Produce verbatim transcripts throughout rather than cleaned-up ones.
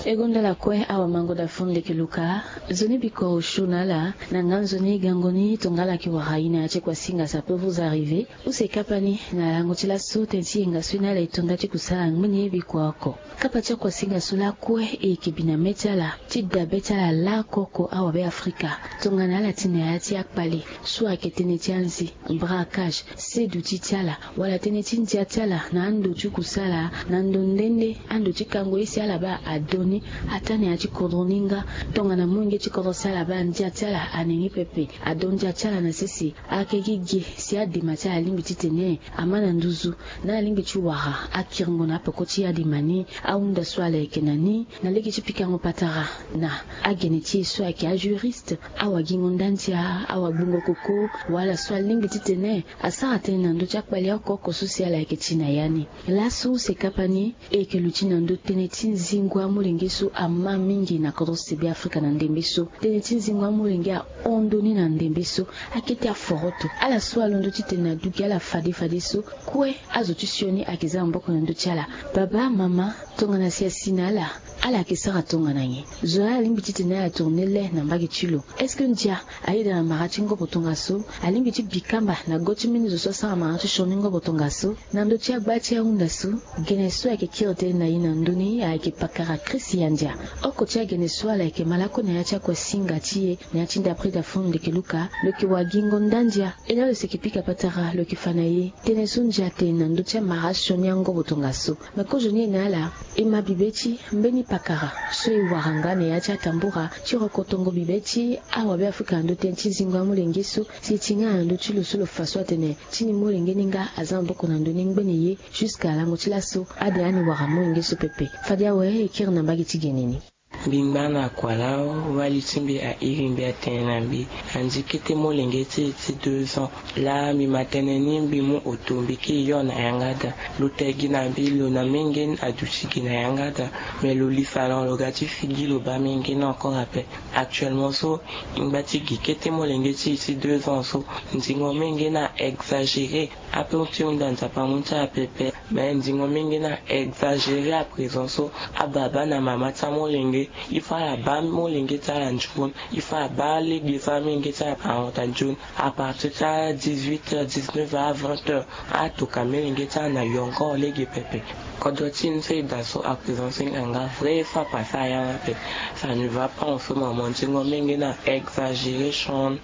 E gonda ala kue awamango da fon leke luka. Nzoni biko osio na ala. Na nga nzoni gango ni tongala ki wara ina ya ti kua singa sa pe vous arriver. Use kapa ni na lango ti laso tene ti yenga so ina ala e tonda ti kusala ngbeni ye biko oko. Kapa ti akua singa so lakue e yeke bi na me ti ala ti dabe ti ala lakoko awabe afrika. Tongana ala ti na ya ti akpale so ayeke tënë ti anzi, braquage, seduti ti ala wala tënë ti ndia ti ala na ando ti kusala na ndo nde nde ando ti kango ye si ala baa ado ni. Ataa na ya ti kodro ni nga. Tongana molenge ti kodro si ala baa ndia ti ala ane ni pepe ado ndia ti ala na sese. Ayeke gi ge si adema ti ala alingbi titene ama na nduzu na alingbi ti wara akiringo na apeko ti adema ni. Ahunda so ala yeke na ni na lege ti pikango patara na agene ti e so ayeke ajuriste, awagingo nda ndia, awagbungo koko, wala so alingbi titene asara tënë na ndö ti akpale oko oko so si ala yeke ti na ya ni. Laso use kapa ni e yeke luti na ndö tënë ti nzingo amolenge so ama mingi na kodro sebe afrika na ndembe so. Tënë ti nzingo amolenge ahon ndö ni na ndembe so. Akete aforoto ala so alondo titene na du gi ala fade fadeso. Kue azo ti sioni ayeke za maboko na ndö ti ala. Baba, mama, tongana si asi na ala, ala yeke sara tongana nyen? Zo laa alingbi titene ala tourne le na mbage ti lo. Est-ce que ndia ayeda na mara ti ngobo tongaso? Alingbi ti bi kamba na go ti mbeni zo so asara mara ti sioni ngobo tongaso? Na ndö ti agba ti ahunda so, gene so ayeke kiri tënë na e na ndö ni ayeke pakara Christian Ndia. Oko ti agene so ala yeke malako na ya ti akua singa ti e na ya ti ndapre da fon leke luka, lo yeke wagingo nda ndia. E laa lo seke pika patara lo yeke fa na e tënë so ndia atene na ndö ti amara sioni angobo tongaso. Me kozo ni e na ala, e ma bibe ti mbeni pakara so e wara nga na ya ti atambura ti rokotongo bibe ti awabe afrika na ndö tënë ti zingo amolenge so. Si e ti nga na ndö ti lo so lo fa so atene ti ni molenge ni nga aza maboko na ndö ni ngbene ye. Jusqu'à lango ti laso ade ani wara molenge so pepe. Fade awe e kiri na mbage ti gene ni. Mbi ngba na kua lao, wali ti mbi airi mbi atene na mbi, andi kete molenge ti e ti deux ans. Laa mbi ma tënë ni mbi mu oto mbi kiri yo na yanga da. Lo te gi na mbi lo na menge ni aduti gi na yanga da. Mais lo lisa lo lo ga ti figi lo baa menge ni encore ape. Actuellement so, e ngba ti gi kete molenge ti e ti deux ans so. Nzingo menge ni a exagéré. Ape ti hunda nzapa mu ti ala pepe. Mais nzingo menge ni a exagéré à présent so. Ababa na mama ti amolenge, il faut ala baa molenge ti ala nzoni. Il faut abaa lege so amolenge ti ala ahon ta nzoni. À partir ti a dix-huit heures, dix-neuf heures à vingt heures, atoka molenge ti ala na yongo lege pepe. Kodro ti ni so e daa so à présent so e nga nga vrai, il faut apase ayanga pepe. Ça ne va pas en ce moment. Nzingo menge ni a exagéré son.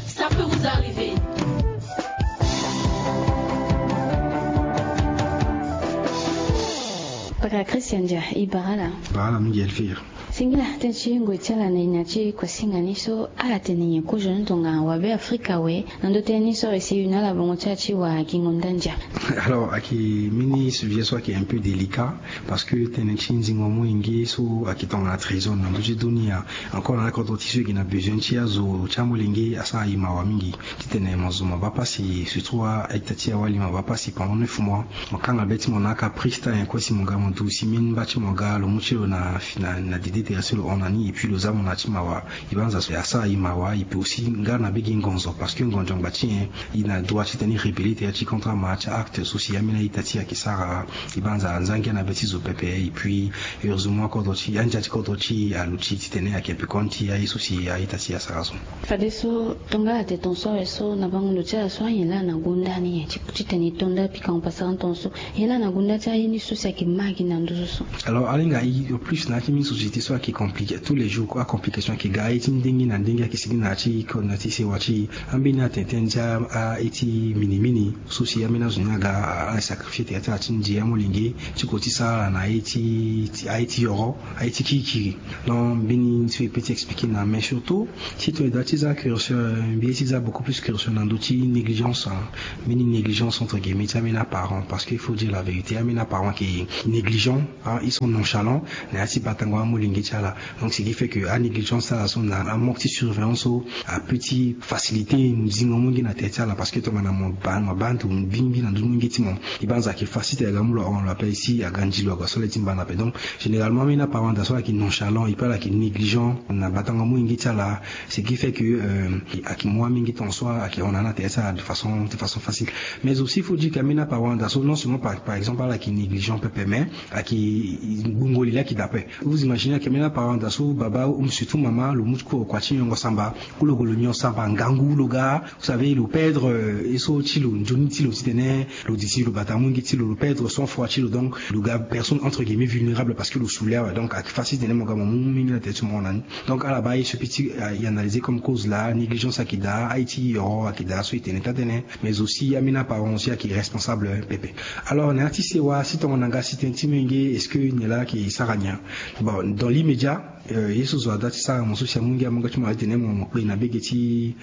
Ça peut vous arriver. Paka Christian Dia, e bara ala. Bara ala mingi Elvire. Singila, tënë ti ngoi ti ala na e na ya ti kua singa ni so, ala tene nyen kozo ni tongana wabe afrika awe? Na ndö tënë ni so e si e na ala bongo ti ala ti wagingo nda ndia. Alors ayeke mbeni sujet so ayeke un peu délicat. Parce que tënë ti nzingo amolenge so ayeke tongana trésor na ndö ti dunia. Encore na akodro ti so e gi na besoin ti azo ti amolenge asara e mawa mingi. Titene mo zo mo baa pasi surtout a-ita ti awali mo baa pasi pendant neuf mois. Mo kanga be ti mo na akaprice ti ayen kue si mo ga mo du si mbeni mba ti mo ga lo mu ti lo na, na, na dede tere so lo hon na ni et puis lo za mo na ya ti mawa. E banza so asara e mawa, e peut aussi nga na be gi ngonzo parce que ngonzo ngba ti nyen? E na droit titene e rébeller tere ti contre amara ti acte so si ambeni a-ita ti e ayeke sara. E banza anzangia na be ti zo pepe et puis heureusement kodro ti andia ti kodro ti e aluti titene ayeke pekoni ti aye so si a-ita ti e asara so. Fadeso tongala te ton so awe so na bango ndo ti ala so anyen laa na gonda ni nyen ti titene e to nda pikango pasara ton so? Nyen laa na gonda ti aye ni so si ayeke ma gi na nduzu so? Alors alinga e au plus na ya ti mbeni société so ayeke compliqué tous les jours, acomplication ayeke ga aye ti ndenge na ndenge ayeke sigi na ya ti kodro na ya ti sewa ti e. Ambeni atene tënë ti a, aye ti minimini so si ambeni azo ni aga a, asacrifié tere ti ala ti ndia molenge ti ko ti sara ala na aye ti, ti, aye ti yoro, aye ti kirikiri. Donc mbeni so e peut ti expliqué na, mais surtout si tongana e doit ti za curseur, mbi ye ti za beaucoup plus curseur na ndö ti négligence, hein. Mbeni négligence entre guillemets ti ambeni aparent, parce que il faut dire la vérité, ambeni aparent ayeke négligent, hein, ils sont nonchalants na ya ti batango amolenge ti ala. Donc ce qui fait que anégligence ti ala so na amanque ti surveillance so apeut ti facilité zingo molenge na tere ti ala parce que tongana mo baa mo baa ndo bingbi na ndö molenge ti mo, e banza ayeke facilité aga mu lo ahon lo ape si aga nzi lo aga so le ti mbana ape. Donc généralement ambeni aparent daa so ayeke nonchalant et puis ala yeke négligent na batango molenge ti ala. Ce qui fait que ayeke mu amolenge ti hon so ayeke hon na ala na tere ti ala de façon facile. Mais aussi faut dire que ambeni aparent daa so non seulement par exemple ala yeke négligent pepe mais ayeke gbungo li la ayeke daa ape. Vous imaginez ayeke ambeni aparent daa so baba ou surtout mama lo mu ti kue kua ti nyongo samba ou lo gue lo nyon samba ngangu lo ga, vous savez lo perdre ye so ti lo nzoni ti lo titene lo di si lo bata molenge ti lo lo perdre sang froid ti lo donc lo ga personne entre guillemets vulnérable parce que lo sou li awe. Donc ayeke facile titene mo ga mo mu mingi na tere ti mo hon na ni. Donc ala baa ye so petit analysé comme cause la négligence ayeke daa aye ti yoro ayeke daa so e tene taa tënë. Mais aussi ambeni aparent aussi ayeke responsable pepe. Alors na ya ti sewa si tongana nga si tënë ti molenge est-ce que nyen la ayeke sara nyen? Bon dans l'immédiat ye so zo ada ti sara mo so si amolenge amolenge ti mo ala titene mo kpe na bege ti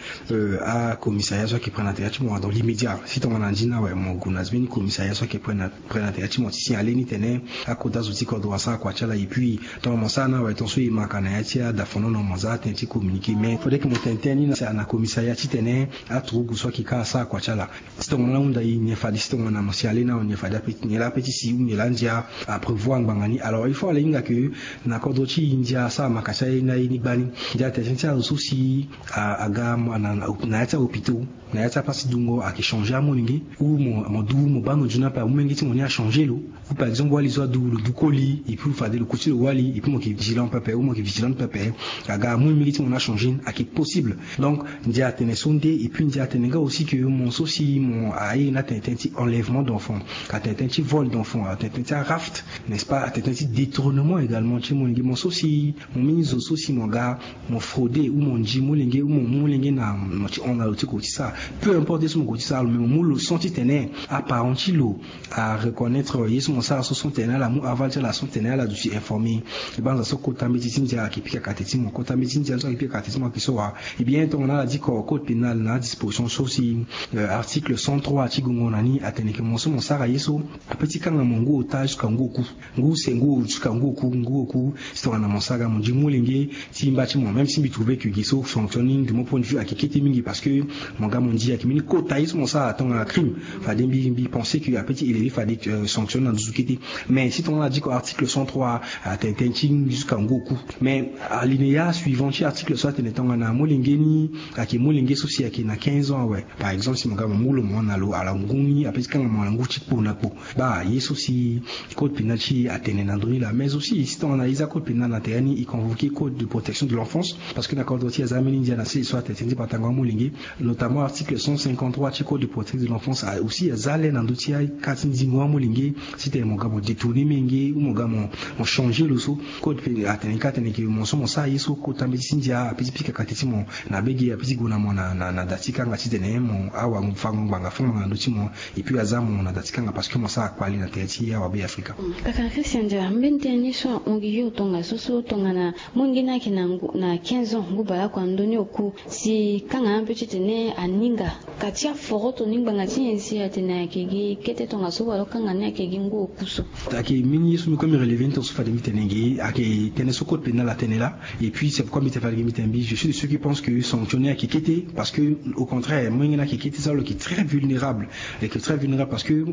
acommissariat so ayeke près na tere ti mo dans l'immédiat si tongana ndi ni awe mo gue na mbeni commissariat so ayeke près na tere ti mo ti signaler ni tene akota zo ti kodro asara kua ti ala et puis tongana mo sara ni awe ton so e ma ka na ya ti adafonono mo za atene ti communiquer mais faudrait que mo tene tënë ni na commissariat titene aturugu so ayeke ka asara kua ti ala. Si tongana ahunda e nyen fade si tongana mo si ale na nyen fade ape ti nyen laa ape ti si ou nyen laa ndia aprévoir ngbanga ni alors il faut ala hinga ke na kodro ti e ndia asara maka ti aye ni aye ni gbani. Ndia atene tënë ti azo so si aga na ya ti ahôpitaux na ya ti apasi dungo ayeke changer amolenge ou mo du mo baa ndo nzoni ape amolenge ti mo ni achanger lo. Ou par exemple wali so adu lo du koli et puis fade lo ku ti lo wali et puis mo yeke vigilant pepe ou mo yeke vigilante pepe aga amolenge ti mo ni achanger ni ayeke possible. Donc ndia atene so nde et puis ndia atene nga aussi ke mo so si mo aye ni atene tënë ti enlèvement d'enfant, atene tënë ti vol d'enfant, atene tënë ti araft, n'est-ce pas, atene tënë ti détournement également ti molenge mo so si mo mbeni zo so si mo ga mo frauder ou mo ndi molenge ou mo mu molenge na mo ti hon na lo ti ko ti sara peu importe ye so mo ko ti sara lo mais mo mu lo sens titene aparent ti lo areconnaître ye so mo sara so sens titene ala mu aval ti ala sens titene ala duti informer. E banza so kota mbeti ti ndia ayeke pika kate ti mo kota mbeti ti ndia so ayeke pika kate ti mo ayeke so wa? Eh bien tongana ala di ko code pénal na adisposition so si article cent trois ti gongo na ni atene ke mo so mo sara ye so ape ti kanga mo ngu ota jusqu'à ngu oku. Ngu use ngu jusqu'à ngu oku ngu oku. Si tongana mo sara ga mo ndi molenge ti mba ti mo même si mbi trouver ke gi so fonctionne ni de mon point de vue ayeke kete mingi parce que mo ga mo ndi ayeke mbeni kota ye so mo sara tongana crime. Fade mbi mbi pense ke ape ti élever fade sanctionne na nduzu kete. Mais si tongana ala di ko article cent trois atene tënë ti jusqu'à ngu oku. Mais alinéa suivant ti article so atene tongana molenge ni ayeke molenge so si ayeke na quinze ans awe par exemple si mo ga mo mu lo mo hon na lo ala ngu ni ape ti kanga mo ala ngu ti kpo na kpo. Baa ye so si code pénal ti e atene na ndö ni laa mais aussi si tongana e za code pénal na tere ni e convoquer code de protection de l'enfance. Parce que na kodro ti e aza mbeni ndia na sese so atene tënë ti batango amolenge. Notamment article cent cinquante-trois ti code de protection de l'enfance aussi aza le na ndö ti aka ti ndingo amolenge. Titene mo ga mo détourner molenge ou mo ga mo changer lo so code pénal atene ka atene ke mo so mo sara ye so kota mbeti ti ndia ape ti pika kate ti mo na bege ape ti gue na mo na da ti kanga titene mo awa fango ngbanga fango ngbanga na ndö ti mo. Et puis aza mo na da ti kanga parce que mo sara kpali na tere ti awa be afrika. Kaka christian dia mbeni tënë ni so ahon gi yo tongaso so tongana molenge ni ayeke na quinze ans ngu baleoko na ndö ni oku si kanga ape titene aninga ka ti aforoto ni ngbanga ti nyen si atene ayeke gi kete tongaso wala kanga ni ayeke gi ngu oku so. Ayeke mbeni ye so mbi kue mbi relever ni tongaso fade mbi tene gi ayeke tënë so code pénal atene laa. Et puis c'est pourquoi mbi tene fade gi mbi tene mbi je suis de ceux qui pensent que sanction ni ayeke kete parce que au contraire molenge ni ayeke kete so lo yeke très vulnérable. Lo yeke très vulnérable parce que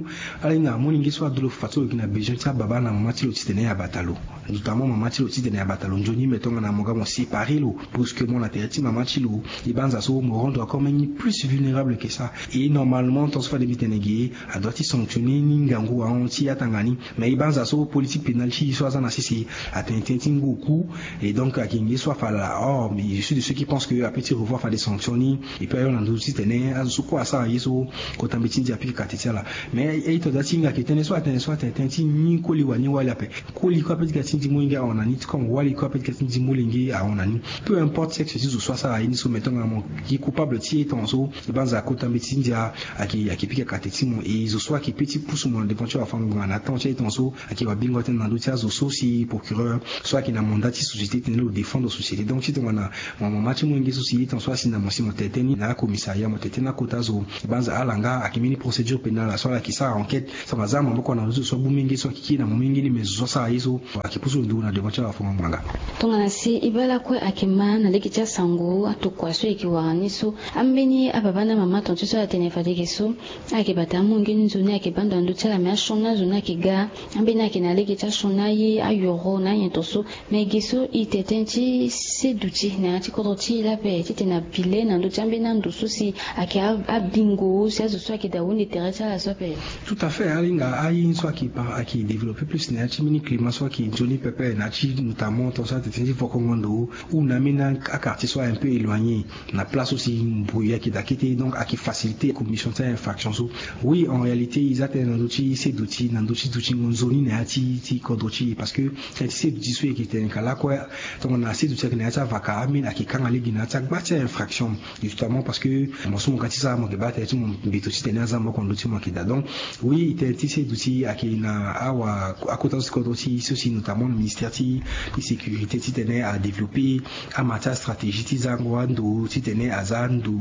ala hinga molenge so adu lo fade so lo yeke na besoin ti ababa na mama ti lo titene abata lo. Notamment mama ti lo titene abata lo nzoni me tongana mo ga mo séparer lo brusquement na tere ti mama ti lo. E banza so mo rendre encore même ni plus vulnérable que ça. Et normalement tongaso fade mbi tene gi adoit ti sanctionner ni ngangu ahon ti atanga ni. Mais e banza so politique pénale ti e so aza na sese atene tënë ti ngu oku. Et donc ayeke nge so afa laa or mais je suis de ceux qui pensent que apeut ti revoir fade sanction ni. Et puis ayo na nduzu titene azo so kue asara ye so kota mbeti ti ndia apike kate ti ala. Mais e to da ti hinga ayeke tënë so atene so atene tënë ti ni koli wani wali ape. Koli kue apeut ti ga ti ndi molenge ahon na ni ti comme wali kue apeut ti ga ti ndi molenge ahon na ni. Peu importe sexe ti zo so asara ye ni so mais tongana mo gi coupable ti e tongaso e banza akota mbeti ti ndia ayeke pike kate ti mo. E zo so ayeke peut ti pusu mo na devant ti wafango ngbanga na atemps ti aye tongaso ayeke wabingo tënë na ndö ti azo so si procureur so ayeke na mandat ti société titene lo défendre société. Donc ti tongana mo mama ti molenge so si ye tongaso asi na mo si mo tene tënë ni na acommissariat mo tene tënë na akota zo. E banza ala nga ayeke mbeni procédure pénale so ala yeke sara enquête. So aza maboko na zo so abu molenge so ayeke kiri na mo molenge ni mais zo so asara ye so ayeke pusu lo ndugu na devant ti Afongo ngbanga. Tongana si e baa lakue ayeke ma na lege ti asango atokua so e yeke wara ni so, ambeni ababa na amama tongaso ala tene fade ge so, ala yeke bata amungo ni nzoni, ala yeke baa ndo na ndö ti ala, me asioni azo ni ayeke ga. Ambeni ayeke na lege ti asioni aye, ayoro na anyen tongaso. Me ge so e tene tënë ti seduti na ya ti kodro ti e laa ape, titene abile na ndö ti ambeni ando so si ayeke abingo si azo so ayeke daa hunde tere ti ala so ape. Tout à fait, alinga aye ni so ayeke pa ayeke développé plus na ya ti mbeni climat so ayeke nzoni pepe na ya ti notamment tongaso atene ti vokongo ndo ou na ambeni aquartier so un peu éloigné, na place so si mbui ayeke daa kete, donc ayeke facilité commission ti infraction so. Oui, en réalité e za tënë na ndö ti seduti na ndö ti dutingo nzoni na ya ti ti kodro ti e, parce que tënë ti seduti so e yeke tene ka lakue, tongana seduti ayeke na ya ti avaka, ambeni ayeke kanga lege na ya ti agba ti infraction. Justement parce que mo so mo ga ti sara, mo yeke baa tënë ti mo mbeto titene aza maboko na ndö ti mo ayeke daa. Donc oui, tënë ti seduti ayeke na awa akota so ti kodro ti e so si notamment na ministère ti sécurité titene adéveloppé ama ti astratégie ti zango ando titene aza ndo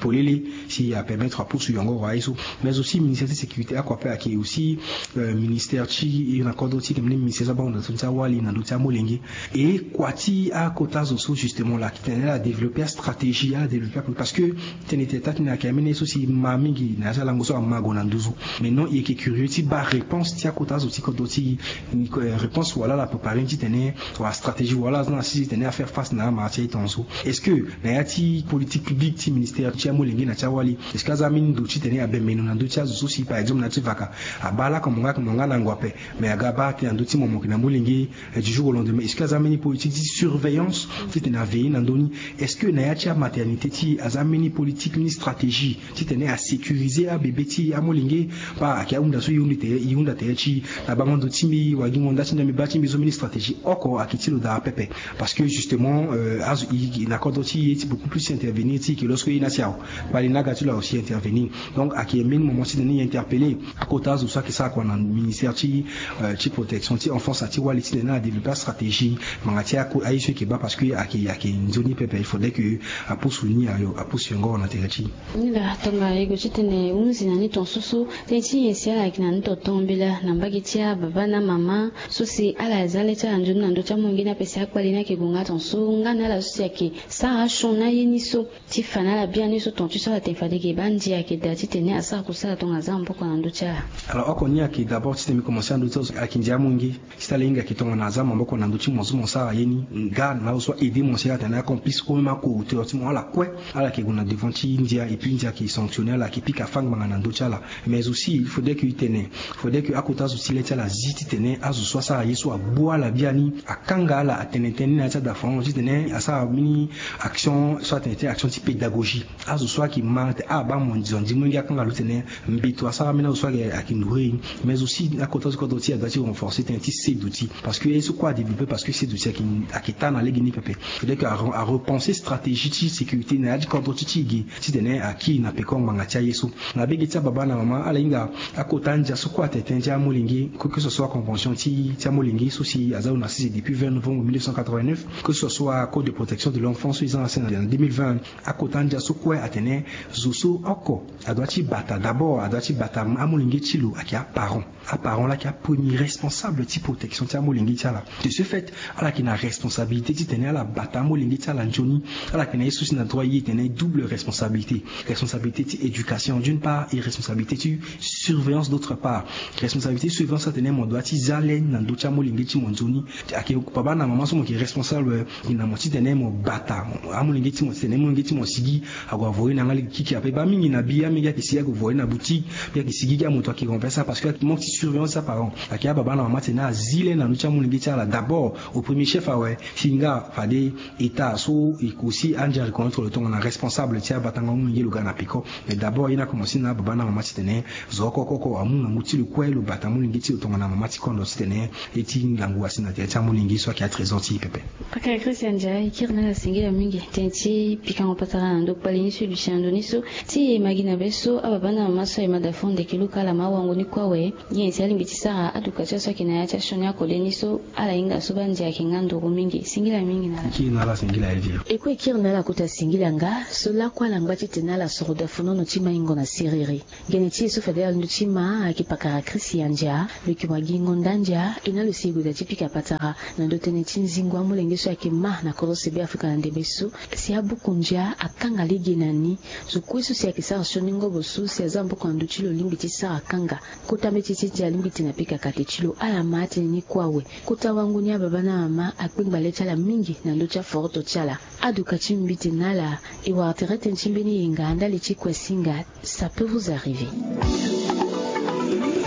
polele si apermettre apusu yongoro aye so. Mais aussi ministère ti sécurité oko ape ayeke aussi, euh, ministère ti e na kodro ti e, tene ministère so abaa ndo na so ti awali na ndö ti amolenge. E kua ti akota zo so justement la titene ala développé astratégie, ala développé apolitique, parce que tene tene taa ti ni ayeke amene so si ma mingi na ya ti alango so ama gue na nduzu. Mais non, e yeke curieux ti baa réponse ti akota zo ti kodro ti e, euh, réponse wala ala préparé ni titene wala stratégie wala aza na si titene afaire face na ama ti aye tongaso. Est-ce que na ya ti politique publique ti ministère ti amolenge na ti awali, est-ce que aza ambeni ndo titene abembe ndo na ndö ti azo so si par exemple na ya ti vaka abaa lakue mo nga mo nga na ngu ape, mais aga abaa tënë na ndö ti mo mo yeke na molenge, eh, du jour au lendemain, est-ce que aza ambeni politique ti surveillance titene aveiller na ndö ni? Est-ce que na ya ti amaternité ti e aza ambeni politique ni stratégie titene asécuriser abébé ti e, amolenge? Baa ayeke ahunda so e hunda tere, e hunda tere ti e na bango ndo ti mbi, wagingo nda ti mbi, mbi baa ti mbi so, mbeni stratégie oko ayeke ti lo daa pepe. Parce que justement, euh, azo e, e na kodro ti e ti beaucoup plus intervenir ti e ke lorsque e na si awe, kpali ni aga ti lo awe si intervenir. Donc ayeke mbeni moment titene e interpeller akota azo so ayeke sara kua na ministère ti, euh, ti protection ti enfance na ti wali titene adéveloppé astratégie ngbanga ti ako aye so e yeke baa, parce que ayeke, ayeke nzoni pepe, il faudrait que apusu ni ayo, apusu yongoro na tere ti e. Ni laa tongana e gue titene hunzi na ni tongaso so, tënë ti nyen si ala yeke na ni tongaso mbela na mbage ti ababa na amama so si ala za le ti ala nzoni na ndö ti amolenge ni ape si akpali ni ayeke gue nga tongaso nga na ala so si ayeke sara asioni aye ni so ti fa na ala biani so tongaso ti so ala tene fade ge baa ndia ayeke daa titene asara kusala tongana aza maboko na ndö ti ala. Alors oko ni ayeke d'abord titene mbi commencé na ndö ti azo ayeke ndia amolenge. Ti tala e hinga ayeke tongana aza maboko na ndö ti mo so mo sara ye ni, nga na azo so a-aider mo si ala tene acomplice ou même ako hauteur ti mo, ala kue, ala yeke gue na devant ti ndia, et puis ndia ayeke sanctionner ala, ayeke pika fâ ngbanga na ndö ti ala. Mais aussi il faudrait que e tene, faudrait que akota zo ti le ti ala zi titene azo so asara ye so agbu ala biani, akanga ala, atene tënë ni na ya ti ada farango titene asara mbeni action so atene ti action ti pédagogie. Azo so ayeke ma tene ah baa mo zo andi molenge akanga lo titene mbeto asara ambeni azo so ayeke, ayeke nourrir e. Mais aussi akota so kodro ti e adoit ti renforcer tënë ti seduti, parce que ye so kue adéveloppé parce que seduti ayeke, ayeke taa na lege ni pepe. Faudrait que a, arepenser stratégie ti sécurité na ya ti kodro ti ti e ge titene akiri na peko ngbanga ti aye so. Na bege ti ababa na mama ala hinga akota andia so kue atene tënë ti amolenge, que, que ce soit convention ti, ti amolenge so si aza lo na sese depuis vingt novembre mille neuf cent quatre-vingt-neuf, que ce soit code de protection de l'enfant so e za na sese na deux mille vingt. Akota andia so kue atene zo so oko adoit ti bata, d'abord adoit ti bata amolenge ti lo ayeke aparent. Aparent laa ayeke apremier responsable ti protection ti amolenge ti ala. De ce fait ala yeke na responsabilité titene ala bata amolenge ti ala nzoni. Ala yeke na ye so si na droit e tene double responsabilité. Responsabilité ti éducation d'une part et responsabilité ti surveillance d'autre part. Responsabilité ti surveillance atene mo doit ti za le na ndö ti amolenge ti mo nzoni. Ayeke baba na mama so mo yeke responsable, eh, na mo titene mo bata amolenge ti mo titene amolenge ti mo asigi ague avoye na nga lege kiki ape. Baa mingi na bi amolenge ayeke sigi ague voye na boutique, mbi ayeke sigi gi amoto ayeke renverser parce que manque ti surveillance ti aparent. Ayeke ababa na mama titene azi le na ndö ti amolenge ti ala d'abord au premier chef awe. Si nga fade état so e ko si andia reconnaître lo tongana responsable ti abatango amolenge lo ga na peko. Mais d'abord ye ni akomanse na ababa na mama titene zo oko oko oko amu ngangu ti lo kue lo bata amolenge ti lo tongana mama ti kondo titene ye ti ngangu asi na tere ti amolenge so ayeke atrésor ti e pepe. Pakara Christian Ndia, e kiri na ala singila mingi tënë ti pikango patara na ndo kpali ni so e duti na ndo ni so. Ti e ma gi na be so ababa na mama so aye ma da fo ndeke luka ala ma awango ni kue awe. Nyen si alingbi ti sara aduka ti aso ayeke na ya ti asioni akode ni so ala hinga so baa ndia ayeke nga nduru mingi. Singila mingi na ala. Kiri na ala singila ye. E kue e kiri na ala kota singila nga so lakue ala ngba titene ala soro da funono ti maingo na siriri. Gene ti e so fade ala ndö ti ma ayeke pakara Christian Ndia. Lo yeke mo agingo nda ndia e na lo si e gue da ti pika patara na ndo tënë ti nzingo amolenge so ayeke ma na kodro se be afrika na ndembe so. Si abuku ndia akanga lege na ni. Zo kue so si ayeke sara sioni ngobo so si aza maboko na ndö ti lo lingbi ti sara kanga. Kota mbeti ti ndia alingbi ti na pika kate ti lo ala ma atene ni kue awe. Kota wango ni ababa na mama akpengba le ti ala mingi na ndö ti aforoto ti ala. Aduka ti mbiti na ala. E wara tere tënë ti mbeni yenga ndali ti kue singa. Ça peut vous arriver.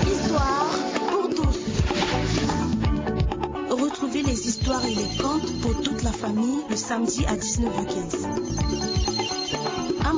Histoire pour tous. Retrouvez les histoires et les contes pour toute la famille le samedi à dix-neuf heures quinze.